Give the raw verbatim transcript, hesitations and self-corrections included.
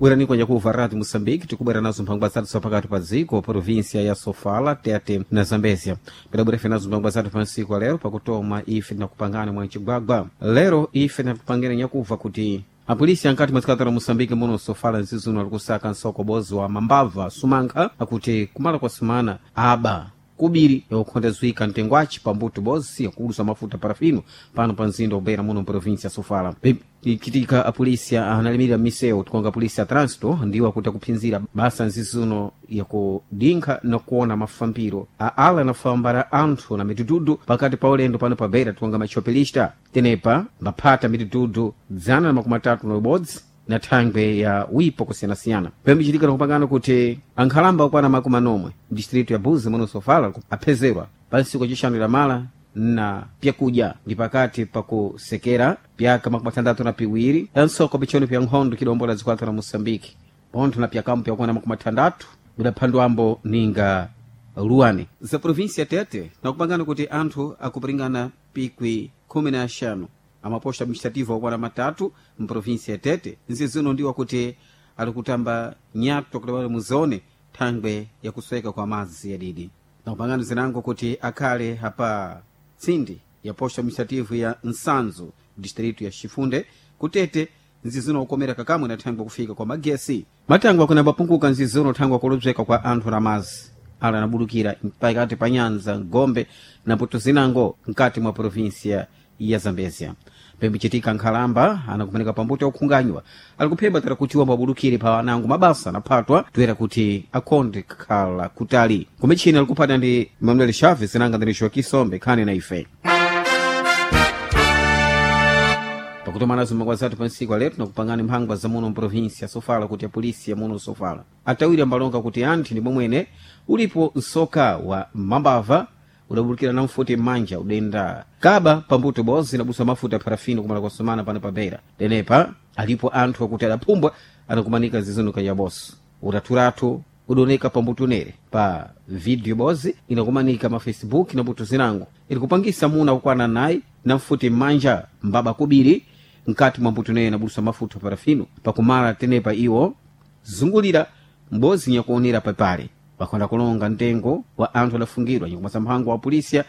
Bwerani kwa nyakuva Rádio Moçambique, tikubwera nazo mphangwa zathu zapakati pa dziko, província ya Sofala, Tete na Zambezia. Pedabwera ife nazo mphangwa zathu pa nsiku lero, pakutoma ife tinakupangana mwa mcigwagwa. Lero ife tinakupangana nyakuva kuti apolisi ankati mwa dziko la Moçambique muno Sofala nzizuno ali kusaka msokobozi wa mambava sumankha akuti kumala kwa sumana aba kubiri yakukhondezwika mtengwaci pambuto bozi yakulusa mafuta parafino pano pa mzinda ubeira muno mprovinsia ya Sofala. Ikitika apolisi analimirira misewu tikonga polisi ya trânsito ndiwo akuti akuphinzira basa nzizuno yakudinkha na kuona mafambiro a ala anafambara anthu na mitutudu pakati pa ulendo pano pa beira tikonga machopelista tenepa mbaphata mitutudu dzana na makumi atatu na ubodzi na thangwe ya wipo kusiyanasiyana pembichitika nakupangana kuti ankhalamba okwana makumi anomwe distritu ya Buzi muno Sofala aphezerwa pa nsiku acixanu lamala na pyakudya ndi pakati pakusekera pyaka makumi atandatu na piwiri ansoko pichoni pya nkhondo kidombola zikwata la Moçambique pontho na pyakambo pyakwana makumi atandatu budaphandwambo ninga luane za província Tete nakupangana kuti anthu akupiringana pikwi khumi na axanu amaposto administrativo okwana matatu mprovinsia ya Tete nzizino ndiwo kuti ali kutamba nyato kuti wali muzone thangwe yakusweka kwa madzi yadidi nakupangana zinango kuti akhale apa tsindi ya posto administrativo ya Nsanzo distrito ya Chifunde kutete nzizino ukomera kakamwe na thangwe kufika kwa magesi matangwe akunambapunguka nzizino thangwe akulobzeka kwa anthu na mazi ala anabudukira pakati pa nyanza Gombe na mputo zinango mkati mwa provinsia ya Zambezia. Pembichitika nkhalamba anakumanika pambuto yakukhunganywa ali kuphemba tera kuti wambabudukire pa anango mabasa anaphatwa toera kuti akhonde kukhala kutali kumichini alikuphata ndi Manuel Chaves nanga ndinixo Kisombe khani na ife pakutomanazo makwa zathu pa ntsiku aletu nakupangani mphangwa za muno mprovinsia Sofala kuti apolisi ya muno Sofala atawiri ambalonga kuti anthu ndi momwene ulipo msoka wa mambava udabulukira na mfuti m'manja udenda kaba pambuto bozi inabusa mafuta parafino kumala kwasomana pano pa Beira denepa alipo anthu akuti adaphumbwa anakumanika zizinuka ya bosi utaturatu udoneka pambuto nere pa video bozi inakumanika ma Facebook na mbuto zinango ilikupangisa muna kukwana nayi na mfuti m'manja mbaba kubiri mkati mwa mbuto nere inabusa mafuta parafino pakumala tenepa iwo zungulira mbozi nyakuonera papale pakhonda kulonga mtengo wa anthu adafungidwa nyakumasa mphango wa polisia